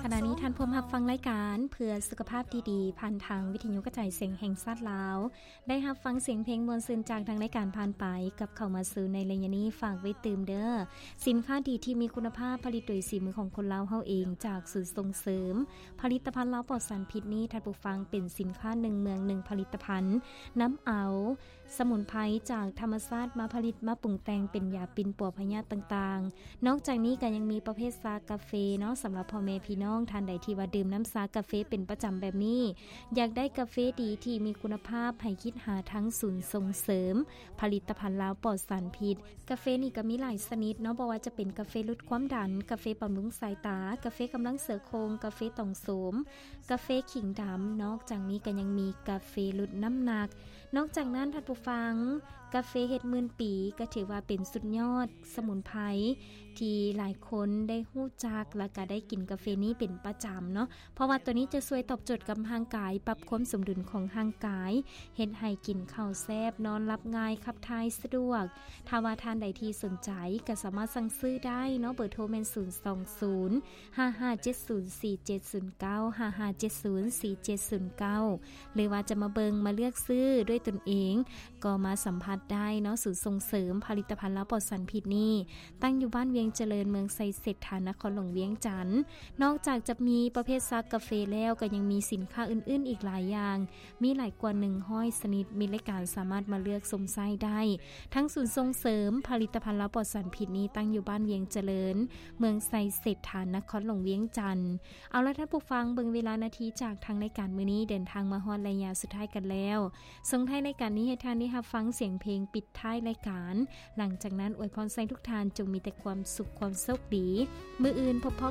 ຂະນະນີ້ທ່ານພວມຮັບຟັງລາຍການເພື່ອສຸຂະພາບທີ່ດີ ຜ່ານທາງວິທະຍຸກະຈາຍສຽງແຫ່ງຊາດລາວ. ໄດ້ຮັບຟັງສຽງເພງມ່ວນຊື່ນຈາກທາງລາຍການຜ່ານໄປ, ກັບເຂົ້າມາສູ່ໃນໄລຍະນີ້ ຝາກໄວ້ຕື່ມເດີ້. ສິນຄ້າດີທີ່ມີຄຸນນະພາບ ຜະລິດໂດຍສີມືຂອງຄົນລາວເຮົາເອງ ຈາກສູນສົ່ງເສີມຜະລິດຕະພັນລາວປອດສານພິດນີ້ ທ່ານຜູ້ຟັງ, ເປັນສິນຄ້າໜຶ່ງເມືອງໜຶ່ງຜະລິດຕະພັນ, ນຳເອົາ ສະໝຸນໄພຈາກທຳມະຊາດມາຜະລິດມາປຸງແຕ່ງເປັນຢາປິ່ນປົວພະຍາດຕ່າງໆ. ນອກຈາກນີ້ກໍຍັງມີປະເພດຊາກາເຟເນາະ, ສຳລັບພໍ່ແມ່ພີ່ນ້ອງທ່ານໃດທີ່ວ່າດື່ມນ້ຳຊາກາເຟເປັນປະຈຳແບບນີ້, ຢາກໄດ້ກາເຟດີທີ່ມີຄຸນນະພາບ, ໃຫ້ຄິດຫາທາງສູນສົ່ງເສີມຜະລິດຕະພັນລາວປອດສານພິດ. ກາເຟນີ້ກໍມີຫຼາຍຊະນິດເນາະ, ບໍ່ວ່າຈະເປັນກາເຟຫຼຸດຄວາມດັນ, ກາເຟບຳລຸງສາຍຕາ, ກາເຟກຳລັງເສືອໂຄງ, ກາເຟຕ່ອງໂສມ, ກາເຟຂີງດຳ. ນອກຈາກນີ້ກໍຍັງມີກາເຟຫຼຸດນ້ຳໜັກ. ນອກຈາກນັ້ນທ່ານຜູ້ຟັງ, ກາເຟເຫັດໝື່ນປີກໍຖືວ່າເປັນສຸດຍອດສະໝຸນໄພທີ່ຫຼາຍຄົນໄດ້ຮູ້ຈັກ ແລະກະໄດ້ກິນກາເຟນີ້ເປັນປະຈຳເນາະ, ເພາະວ່າຕົວນີ້ຈະຊ່ວຍຕອບໂຈດກັບຮ່າງກາຍ, ປັບຄວາມສົມດຸນຂອງຮ່າງກາຍ, ເຮັດໃຫ້ກິນເຂົ້າແຊບ, ນອນຫຼັບງ່າຍ, ຂັບຖ່າຍສະດວກ. ຖ້າວ່າທ່ານໃດທີ່ສົນໃຈກໍສາມາດສັ່ງຊື້ໄດ້ເນາະ, ເບີໂທແມ່ນ ສູນສອງສູນ ຫ້າຫ້າເຈັດສູນ ສີ່ເຈັດສູນເກົ້າ ຫ້າຫ້າເຈັດສູນ ສີ່ເຈັດສູນເກົ້າ ຫຼືວ່າຈະມາເບິ່ງມາເລືອກຊື້ດ້ວຍຕົນເອງ ກໍມາສຳຜັດໄດ້ເນາະ. ສູນສົ່ງເສີມຜະລິດຕະພັນລາວປອດສານພິດນີ້ ຕັ້ງຢູ່ບ້ານວຽງຈະເລີນ, ເມືອງໄຊເສດຖາ, ນະຄອນຫຼວງວຽງຈັນ. ນອກຈາກຈະມີປະເພດຊາກາເຟແລ້ວ, ກໍຍັງມີສິນຄ້າອື່ນໆອີກຫຼາຍຢ່າງ, ມີຫຼາຍກວ່າໜຶ່ງຮ້ອຍຊະນິດ, ມີລາຍການສາມາດມາເລືອກຊົມໃຊ້ໄດ້. ທັງສູນສົ່ງເສີມຜະລິດຕະພັນລາວປອດສານພິດນີ້ ຕັ້ງຢູ່ບ້ານວຽງຈະເລີນ, ເມືອງໄຊເສດຖາ, ນະຄອນຫຼວງວຽງຈັນ. ເອົາລະທ່ານຜູ້ຟັງ, ເບິ່ງເວລານາທີຈາກທາງລາຍການມື້ນີ້ ເດີນທາງມາຮອດໄລຍະສຸດທ້າຍກັນແລ້ວ. ສົ່ງທ້າຍລາຍການນີ້ໃຫ້ທ່ານໄດ້ຮັບຟັງສຽງເພງປິດທ້າຍລາຍການ. ຫຼັງຈາກນັ້ນອວຍພອນໃສ່ທຸກທ່ານຈົ່ງມີແຕ່ຄວາມສຸກ, ຄວາມໂຊກດີ. ມື້ອື່ນພົບພໍ້